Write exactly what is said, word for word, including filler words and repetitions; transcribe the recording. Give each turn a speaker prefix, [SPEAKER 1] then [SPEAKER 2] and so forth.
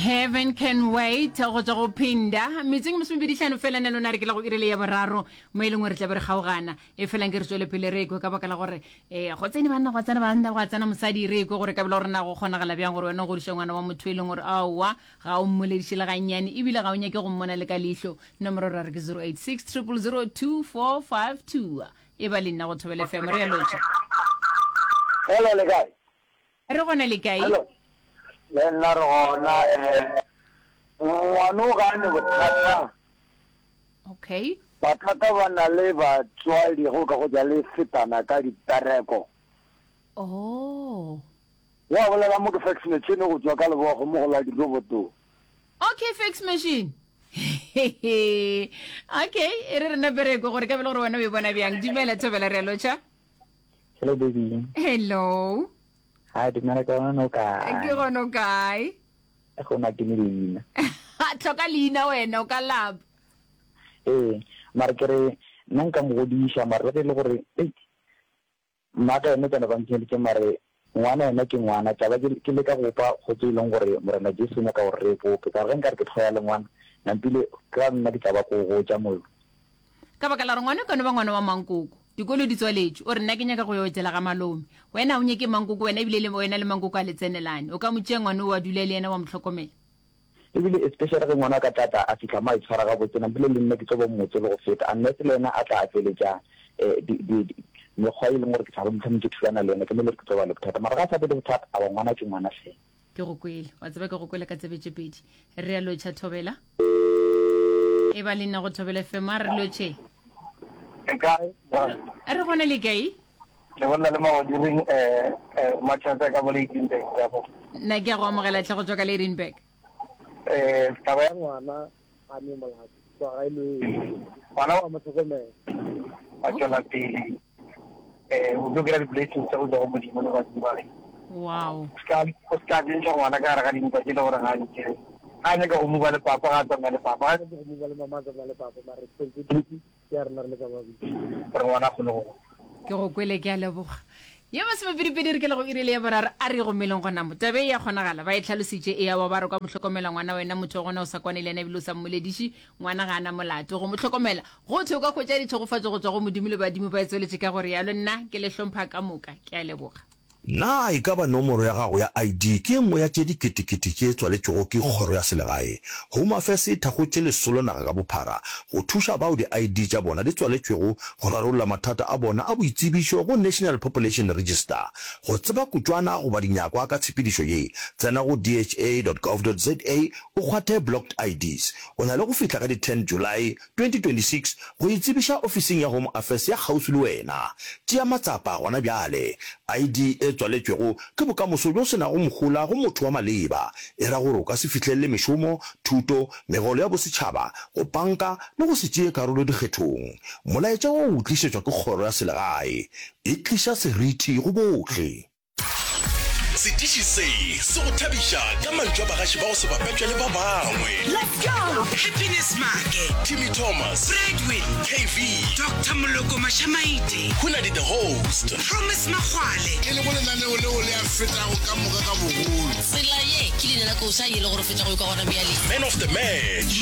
[SPEAKER 1] Heaven can wait go tswa go phinda metseng masomepedi hlano fela ne lona re ke la go irile ya boraro mo e leng gore tla be re kgaogana e felang ke re tswele pele re kwe ka baka la gore um go tsene banna gwa tsena banna gwa tsena mosadi re kwe gore ka bela gore na go kgonagala bjang gore wena o godiša ngwana wa motho e leng gore aowa ga o mmolediše le gannyane ebile ga o nyake go mmona le ka leihlo nomoro ra re ke zero eight six triple zero two four five two e ba le nna go Thobela F M re ya lotšha.
[SPEAKER 2] Hello, le kae?
[SPEAKER 1] Re gona le kae?
[SPEAKER 2] Hello. Le nna re gona eh ngwano ga ne bothata.
[SPEAKER 1] Okay.
[SPEAKER 2] Bothata ba na le batswadi go ka go ja le fetana ka dipereko.
[SPEAKER 1] Oh.
[SPEAKER 2] Wa bolela mo ke fax machine go tswa ka lebogo mo go la diroboto.
[SPEAKER 1] Okay, fax machine. Okay, e re rena bereko gore ka bele gore wena o e bona bjang. Dumela Thobela re a lotšha.
[SPEAKER 3] Hello baby.
[SPEAKER 1] Hello.
[SPEAKER 3] Hi, dumela ka gona o kae?
[SPEAKER 1] Ke gona o kae?
[SPEAKER 3] Gona ke ne leina.
[SPEAKER 1] Tlhoka leina wena o ka lapa.
[SPEAKER 3] Ee, mara ke re nna nka mo godiša mara le ge e le gore ei mma ka yena tsena ba nkenyeditše mare ngwana yena ke ngwana tla ba ke leka go bopa kgotso e leng gore Morena Jesu o nyaka gore re e bope ka gore ge nkare ke hloya le ngwana nampile ka nna ke tla ba ko gotša mollo.
[SPEAKER 1] Ka baka la gore ngwana e ka no ba ngwana wa mankoko. Dikolo di tswaletšwe. O re, Nna ke nyaka go yo etela ga malome. Wena ga o nyake mankoko, wena ebile le wena le mankoko a le tsenelane. O ka mo tšea ngwana o wa dula le yena wa mo hlokomela.
[SPEAKER 3] Ebile especially ge ngwana a ka tla tla a fihla mo a itshwara gabotse, nampile le nna ke tlo ba mmotse le go feta unless le yena a tla a tšweletša di, di, di, mekgwa e leng gore ke tla ba mohlomong ke thulana le yena, ke mo e le gore ke tlo ba le bothata. Mara ga a sa be le bothata, aowa ngwana ke ngwana hle.
[SPEAKER 1] Ke go kwele. Wa tseba ke go kwele ka tsebe tše pedi. Re a lotšha Thobela. E ba le nna go Thobela F M a re lotšhe.
[SPEAKER 2] Le kae?
[SPEAKER 1] Re gona le kae?
[SPEAKER 2] Le bolela le Magodiring eh eh Matšatsa ka mo Lydenburg ka mo.
[SPEAKER 1] Nna ke a go amogela tlhe go tswa ka Lydenburg.
[SPEAKER 2] Eh taba ya ngwana ga ne molato kwa ga ile ngwana wa mo hlokomela wa tšwela pele eh o tlo kry-a di-blessings tsa go tswa go Modimo le badimo ba geno.
[SPEAKER 1] Wow.
[SPEAKER 2] O ska o ska tsentšha ngwana ka gare ga dintwa tše le gore ga a di tsebe. Ga a nyaka go mova le papa ga a tsamaya le papa, ga a nyaka go mova le mama a tsamaya le papa mara responsibility ke ya rena re le ka babedi gore ngwana a kgone go gola.
[SPEAKER 1] Ke go kwele ke a leboga. Ye masomepedipedi re ke le go iri le ya boraro a re gomeleng gona mo. Taba e ya kgonagala ba e hlalositše e ya wa ba re kwa mo hlokomela ngwana wena motho wa gona o sa kwane le yena ebile o sa mmolediše ngwana ga a na molato go mo hlokomela go thwe o ka hwetša ditšhegofatšo go tšwa go Modimo le badimo ba e tsweletše ka go realo nna ke le hlompha ka moka ke a leboga.
[SPEAKER 4] Na e ka ba nomoro ya gago ya I D ke e nngwe ya tše diketekete tše tswaletšwego ke Kgoro ya Selegae? Home Affairs e thakgotše lesolo naga ka bophara go thuša bao di I D tša bona di tswaletšwego go rarolla mathata a bona a boitsebišo go National Population Register. Go tseba kutšwana goba dinyakwa ka tshepedišo ye, tsena go D H A dot gov dot Z A o kgwathe Blocked I Ds. O na le go fihla ka di ten July twenty twenty six go itsebiša ofising ya Home Affairs ya kgauswi le wena. Tšea matsapa gona bjale. I D e tswaletšwego ke bokamoso bjo se nago mohola go motho wa maleba. E ra gore o ka se fihlelele mešomo, thuto, megolo ya bosetšhaba, go panka le go se tšee karolo dikgethong. Molaetša wo o tlišetšwa ke Kgoro ya Selegae. E tliša seriti go bohle.
[SPEAKER 5] Setiši se se go thabiša ka mantšu a bagaši ba go se bapetšwe le ba bangwe.
[SPEAKER 6] Let's go! Happiness Maake,
[SPEAKER 5] Timmy Thomas,
[SPEAKER 6] Bradwin,
[SPEAKER 5] K V,
[SPEAKER 6] Doctor Moloko Mashamaite,
[SPEAKER 5] Hunadi the host,
[SPEAKER 6] Promise Makgwale.
[SPEAKER 7] E lego lenaneo leo le a fetago ka moka ka bogolo.
[SPEAKER 8] Tsela ye ke leina la koša ye le go re fetša go ikwa gona bjale.
[SPEAKER 5] Man of the match.